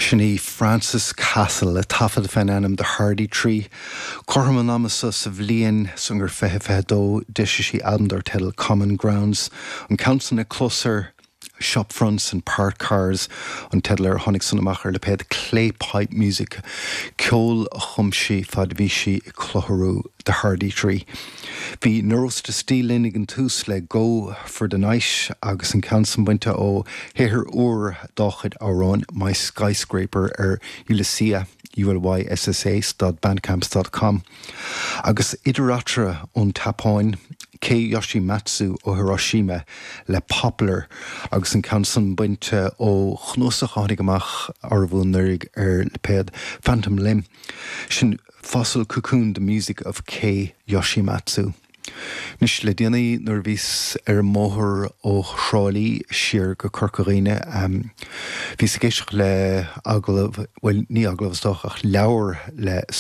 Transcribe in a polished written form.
Sin í Frances Castle le taifead fén ainm The Hardy Tree. Cothrom an ama so sa bhliain san gur 2022 d'eisigh sí albam dar teideal Common Grounds. An ceann san le clos air, Shop Fronts and Parked Cars an teideal air, tháinig san amach ar lipéad Clay Pipe Music, ceol a chum sí fad a bhí sí ag clutharú The Hardy Tree. Bhí Neurosis to Steel linn ag an tús le Go For The Night agus an ceann san bainte ó shaothar úr dá chuid amhráin, My Skyscraper ar Ulyssa, U-L-Y-S-S-A, dot bandcamp com. Agus idir eatarthu ón tSeapáin, Kei Yoshimatsu ó Hiroshima le Poplar agus an ceann san bainte ó chnuasach a tháinig amach arbh anuraidh ar lipéad Phantom Limb. Sin Fossil Cocoon, The Music of Kei Yoshimatsu. Anois, le déanaí nuair a bhíos ar an mbóthar ó Thrá Lí siar go Corca Dhuibhne, bhíos ag éisteacht le agallamh, bhuel, ní agallamh is dócha, ach leabhar le.